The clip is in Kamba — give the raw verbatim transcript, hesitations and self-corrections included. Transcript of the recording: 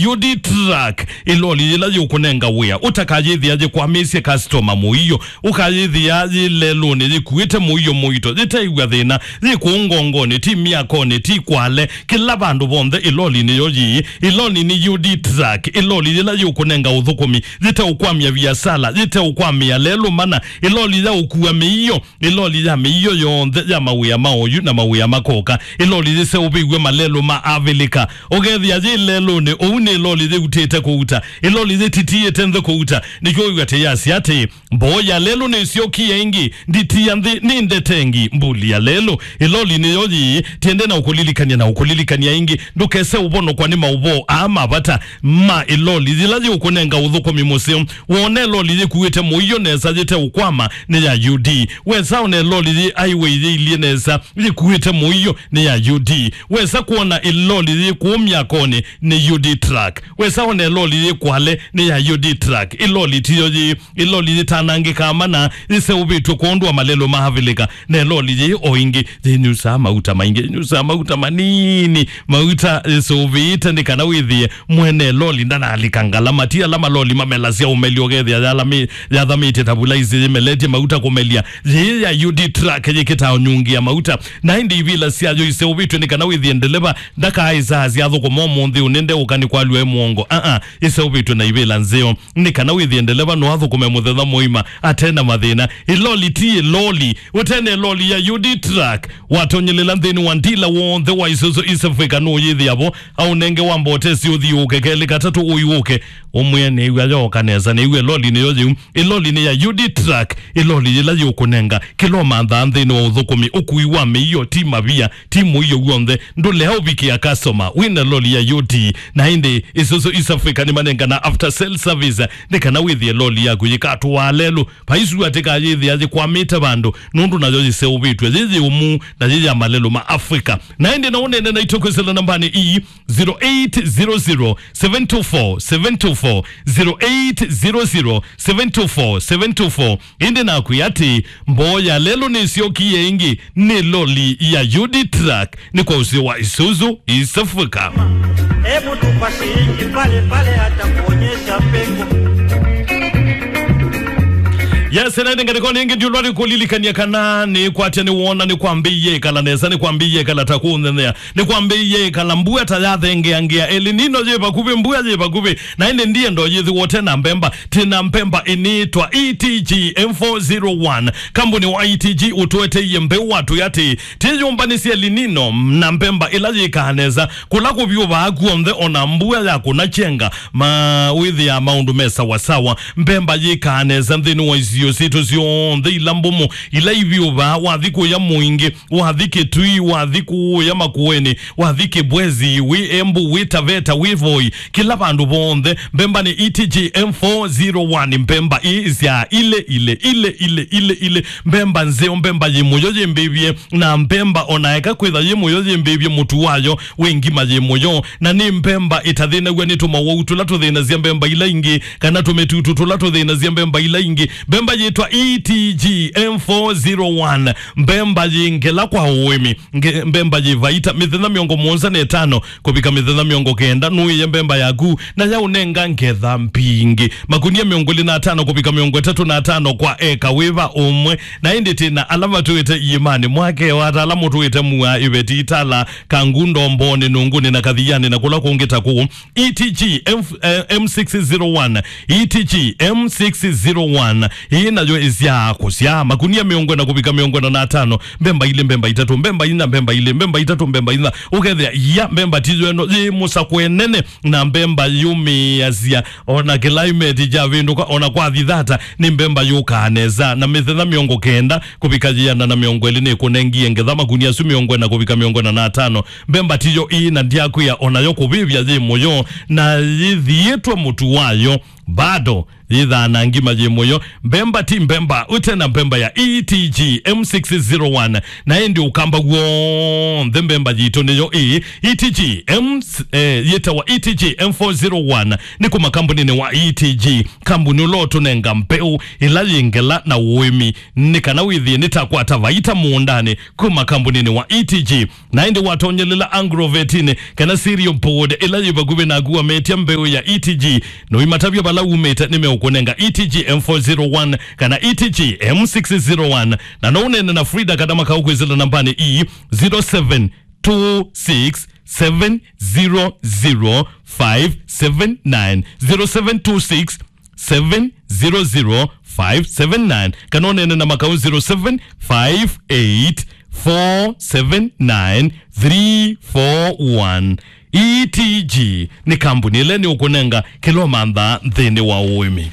U D Truck, ĩloli yĩla yĩũkũnenga wĩa, ũtakayĩthĩa yĩkwamĩsye customer mũio, ũkayĩthĩa yĩ lelũnĩ yĩkuĩte mũio mũito, yĩteĩw'a thĩna, yĩ kũũ ngongonĩ, ti myakonĩ, ti kwale, kĩla vandũ vonthe ĩloli nĩyo yĩĩ. Ĩloli nĩ U D Truck, ĩloli yĩla yĩũkũnenga ũthũkũmi, yĩteũkwamya viasala, yĩteũkwamĩa lelũ mana, ĩloli ya ũkua mĩio, ĩloli ya mĩio yonthe ya mawĩa ma oyu na mawĩa makoka, ĩloli yĩseũvĩw'e malelũ ma Avilika. Ũkethĩa yĩ lelũnĩ, ũu nĩ ĩloli yĩutĩte kũuta, ĩloli yĩtitiĩte nthĩ kũuta. Nĩkyo wĩw'a tĩyasya atĩ, mboo ya lelũ nĩsyokie ĩngĩ, nditi ya nthĩ nĩ ndetengi, mbuli ya lelũ. Ĩloli nĩyo yĩĩ, tiende na ũkũlilikany'a na ũkũlilikany'a ĩngĩ, ndũkese ũvonokwa nĩ maũvoo aa ma vata ma ĩloli yĩla yĩũkũnenga ũthũkũmi mũseo. Wone ĩloli yĩkuĩte mũio nesa yĩteũkwama, nĩ ya U D. Wesa one ĩloli yĩ highway yĩilyĩ nesa yĩkuĩte mũio, nĩ ya U D. Wesa kwona ĩloli yĩ kũũ myakonĩ, nĩ U D Truck. Wesa one ĩloli yĩ kwale, nĩ ya U D Truck. Ĩloli tiyo yĩ, ĩloli yĩtanangĩkaa mana, yĩseũvĩtw'e kwondũ wa malelũ ma Avilika. Na ĩloli yĩ o ĩngĩ yĩnyusaa mauta maingĩ, yĩnyusaa mauta manini, mauta yĩsũvĩĩte nĩ kana wĩthĩe mwene loli ndanalika ngalama. Ti ala maloli mamelasya ũmeli ũkethĩa yalami-, yathamĩtye ta vulaisi yĩmeletye mauta kũmelia. Yĩĩ ya U D Truck yĩkĩtaa ũnyungi ya mauta, na ĩndĩ ivila syayo iseũvĩtw'e nĩ kana wĩthĩe ndeleva ndakaaĩsaa syathũkũma ũmũnthĩ ũnĩ ndeũka nĩ kwalw'a e mũongo. Aa, ĩseũvĩtw'e na ivila nzeo nĩ kana wĩthĩe ndeleva no athũkũme mũthenya mũima ate na mathĩna. Ĩloli ti ĩloli. Ũtene ĩloli ya U D Truck, watonyelela nthĩnĩ wa ndila w'onthe wa Isuzu East Africa nũyĩthĩa vo, aũnenge wa mbotesi ũthiũũke kelĩ katatũ ũiũke. Ũmwĩe nĩw'a yooka nesa, nĩw'a ĩloli nĩyo yĩu. Ĩloli nĩ ya U D Truck, ĩloli yĩla yĩũkũnenga kĩla ũmanthaa nthĩnĩ wa ũthũkũmi, ũkui wa mĩio, ti mavia, ti mũio w'onthe, ndũlea ũvikĩa customer wĩna loli ya U D. Na ĩndĩ Isuzu East Africa nĩmanengana after sale service nĩ kana wĩthĩe loli yaku yĩkatũaa lelũ. Vaisu atĩ kayĩthĩa yĩkwamĩte vandũ, nũndũ nayo yĩseũvĩtw'e, yĩ yĩũmu, na yĩ ya malelũ ma Africa. Na ĩndĩ no ũnene naitũ kwĩsĩla nambanĩ ii, zero eight zero zero, seven two four, seven two four, zero eight zero zero, seven two four, seven two four. Ĩndĩ nakwĩa atĩ, mboo ya lelũ nĩsyokie ĩngĩ, nĩ loli ya U D Truck, nĩ kwa ũseo wa Isuzu East Africa. Hebu tupa shilingi pale pale, atakuonyesha pengo. Yes, na ĩndĩ ngalĩkonĩ ĩngĩ ndiũlwa nĩkũlilikany'a kana nĩkwatya nĩwona nĩkwambĩie ĩkala nesa, nĩkwambĩie ĩkala ta kũnenea. Nĩkwambĩie ĩkala mbua ta yathengeangĩa. El Nino yĩ vakuvĩ, mbua yĩ vakuvĩ. Na ĩndĩ ndienda ũyĩthĩwa ũte na mbemba. Twĩ na mbemba ĩnĩĩtwa E T G M four zero one. Kambuni wa E T G ũtũeteie mbeũ watwĩa atĩ, twĩyũmbanĩsye El Nino na mbemba ĩla yĩkaa nesa. Kũla kũvyũvaa kw'onthe, o na mbua ya kũna kyenga, ma wĩthĩaa maũndũ me sawasawa. Mbemba yĩkaa nesa nthĩnĩ wa isio sitũ syonthe ila mbũmũ, ila ivyũvaa, wathi kũya Mwingĩ, wathi Kitui, wathi kũya Makueni, wathi Kibwezi, wĩ Embu, wĩ Taveta, wĩ Voi, kĩla vandũ vonthe, mbemba nĩ E T G M four zero one, mbemba ii sya ile, ile, ile, ile, ile, ile, mbemba nzeo, mbemba yĩ mũyo yĩmbĩvye, na mbemba ona eka kwĩtha yĩ mũyo yĩmbĩvye, mũtu wayo wĩ ngima yĩ mũyo, na nĩ mbemba ĩtathĩnaw'a nĩ tũmawau tũla tũthĩnasya mbemba ila ingĩ, kana tũmĩtutu tũla tũthĩnasya mbemba ila ingĩ. Mbemba yĩtwa E T G M four zero one, mbemba yĩ ngela kwa ũĩmi, nge-, mbemba yĩ vaita. Mĩthenya mĩongo mũonza na ĩtano kũvika mĩthenya mĩongo kenda, nũĩe mbemba yaku, na yaũnenga ngetha mbingĩ. Makunia mĩongo ĩlĩ na atano kũvika mĩongo ĩtatũ na atano kwa eka wĩva ũmwe. Na ĩndĩ twĩ na ala matũĩte iĩmanĩ, mwakeo, ata ala mũtũĩte Mua, Iveti, Itala, Kangundo, Mbooni, Nunguni na Kathiani na kũla kũngĩ ta kũu. E T G M, eh, M six zero one, E T G M six zero one. Ĩĩ nayo ĩsyaa kũsyaa makunia mĩongo ĩna kũvika mĩongo ĩna na atano, mbemba ilĩ, mbemba itatũ, mbemba inya, mbemba ilĩ, mbemba itatũ, mbemba inya. Ũkethĩa, ia, mbemba tiyo ĩno yĩ mũsakwe nene, na mbemba yũmĩĩasya, ona climate kyavĩndũka, ona kwathi thata, nĩ mbemba yũkaa nesa, na mĩthenya mĩongo kenda kũvika yĩana na mĩongo ĩlĩ nĩkũnengie ngetha makunia asu mĩongo ĩna kũvika mĩongo ĩna na atano. Mbemba tiyo ii, na ndyakwĩa onayo kũvĩvya yĩ mũyo, na yĩthiĩtwe mũtu wayo bado yĩthaa na ngima yĩ mũyo. Mbemba ti mbemba ũte na mbemba ya E T G M six zero one. Na ĩndĩ ũkamba w'onthe mbemba yitũ nĩyo ĩĩ. E T G M, eh, yĩtawa E T G M four zero one. Nĩ kuma kambuninĩ wa E T G, kambuni ũla ũtũnenga mbeũ ĩla yĩ ngela na ũĩmi, nĩ kana wĩthĩe nĩtakwata vaita mũũndanĩ kuma kambuninĩ wa E T G. Na ĩndĩ watonyelela agrovetinĩ kana cereal board ĩla yĩ vakuvĩ naku, wametya mbeũ ya E T G, noimatavya vala umĩte, nĩmeũkũnenga E T G M four zero one kana E T G M six zero one. Na no ũneene na Frida kana Makau kwĩsĩla nambanĩ ii, zero seven two six seven zero zero five seven nine, zero seven two six seven zero zero five seven nine, kana ũneene na Makau zero seven five eight four seven nine three four one. E T G nĩ kambuni ĩla nĩ ũkũnenga kĩla ũmantha nthĩnĩ wa ũĩmi.